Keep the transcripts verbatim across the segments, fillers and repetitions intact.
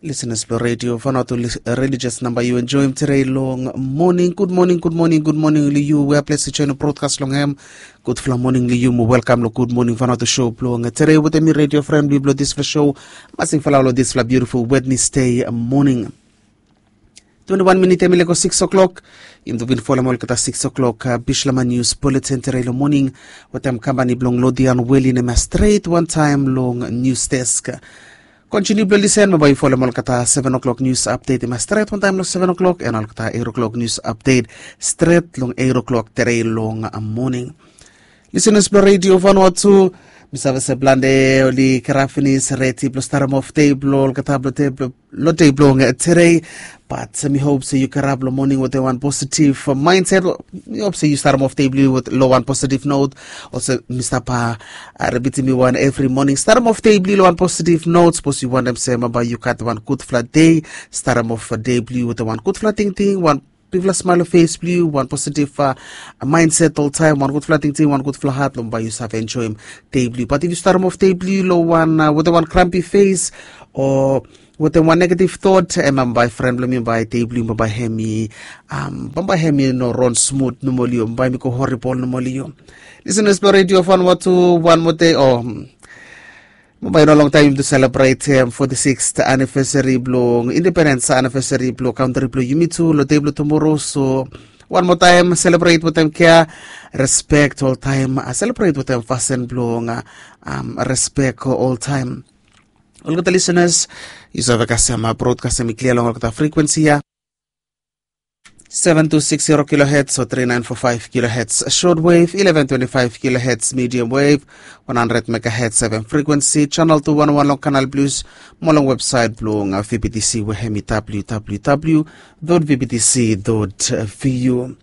Lisenas blong redio Vanuatu, religious namba yu enjoim tere long moning. Gud moning, gud moning, gud moning long yu we ples i join brodkas long hem. Gudfala moning long yu mo welkam long Gud Moning Vanuatu show blong tere wetem mi, redio fren blong yu blong disfala show. Masing fala long disfala biutiful Wednesday moning. Twenti wan minit em i lego sikis o'klok. Yumi tu bin folem olgeta sikis o'klok bislama nius buletin tere long moning wetem kampani blong Lodian Weli, nem ya stret wantaem long nius desk. Kontiniu blong lisen, mo bae yu folem olgeta seven o'clock nius apdet, i mas stret wantaem long seven o'clock, and olgeta eight o'clock nius apdet stret long eight o'clock tere long moning. Lisenas blong redio Vanuatu, mi save se plante oli kirap finis, redi blong starem of dei blong olgeta blong dei blong long dei blong tere. Bat mi hop se yu kirap long moning wetem wan positif maenset. Mi hop se yu starem of dei blong yu long wan positif not. Olsem mi stap a, a ripitim mi wan evri moning, starem of dei blong yu long wan positif not. Sapos yu wantem se mo bae yu gat wan gudfala dei, starem of dei blong yu wetem wan gudfala tingting, wan bigfala smael long fes blong yu, wan positif maenset oltaem, wan gudfala tingting, wan gudfala hat, long bae yu save enjoim dei blong yu. Bat if yu starem of dei blong yu long wan, wetem wan krampi fes o wetem wan negatif tot, em bambae fren blong mi, bambae dei blong yu bambae hem i, bambae hem i no ron smut nomo long yu, bambae hem i go horibol nomo long yu. Lisenas blong redio Vanuatu, wan moa dei o, bambae i no longtaem yumi tu selebretem foti siks anivesari blong independens anivesari blong kantri blong yumi tu long dei blong tumoro. So wan moa taem selebret wetem kea, respek oltaem, selebret wetem fasin blong respek oltaem. Olgeta lisenas, yu save kasem brodkas hem i klia long olgeta frikwensi ya. Seven two six zero kilohertz o three nine four five kilohertz short wave, eleven twenty five kilohertz medium wave, one hundred megahertz seven frequency, channel two one one long Canal Plus, mo long websaet blong V B T C we hem i W W W dot V B T C dot V U.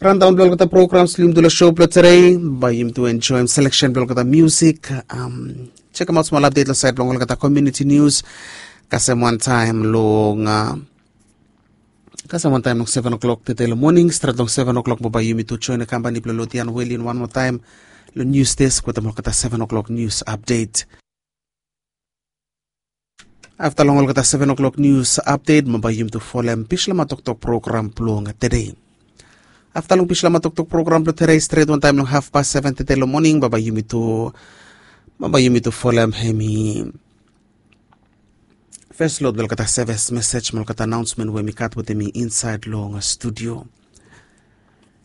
Randaon blong olgeta programs blong yumi tu long show blong tere, bae yumi tu enjoim seleksen blong olgeta musik. Am, sekemaot smol apdet long saed blong olgeta komuniti nius. Kasem wantaem long, a, kasem wantaem long seven o'clock tede long moning, stret long seven o'clock mo bae yumi tu join kampani blong Lodian Weli wan moa taem long nius desk wetem olgeta seven o'clock nius apdet. Afta long olgeta seven o'clock nius apdet, mo bae yumi tu folem Bislama Toktok program blong tede. Afta long Bislama Toktok program blong tede, stret wantaem long hafpas seven tede long moning, mo bae yumi tu, mo bae yumi tu folem hem i fes lot blong olgeta sevis mesej mo olgeta anaonsmen we mi gat wetem mi insaed long studio.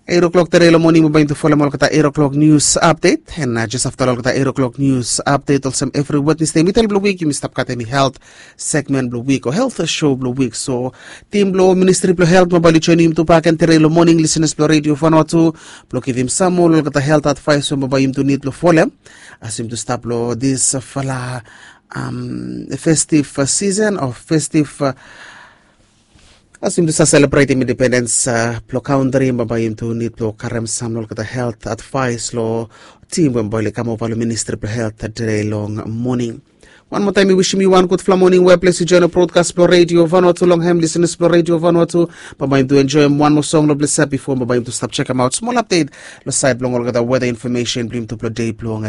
Eight o'clock tede long moning, mo bae yumi tu folem olgeta eight o'clock nius apdet. And jes afta long olgeta eight o'clock nius apdet, olsem evri Wednesday midel blong wik, yumi stap gat hem i helt segmen blong wik o helt show blong wik. So tim blong Ministri blong Helt mo bae oli joinim yumi tu bakegen tede long moning, lisenas blong redio Vanuatu, blong givim sam moa long olgeta helt advaes we mo bae yumi tu nid blong folem. As yumi tu stap long disfala, am, festiv sisen o festiv, a, as yumi tu stap selebretem independens blong kantri, bambae yumi tu nid blong karem sam long olgeta helt advaes long tim we bambae oli kamova long Ministri blong Helt tede long moning. Wan moa taem mi wisim yu wan gudfala moning we ples yu join brodkas blong redio Vanuatu long hem, lisenas blong redio Vanuatu. Bambae yumi tu enjoim wan moa song long ples ya bifo bambae yumi tu stap sekemaot smol apdet long saed blong olgeta weta infomesen blong yumi tu blong dei blong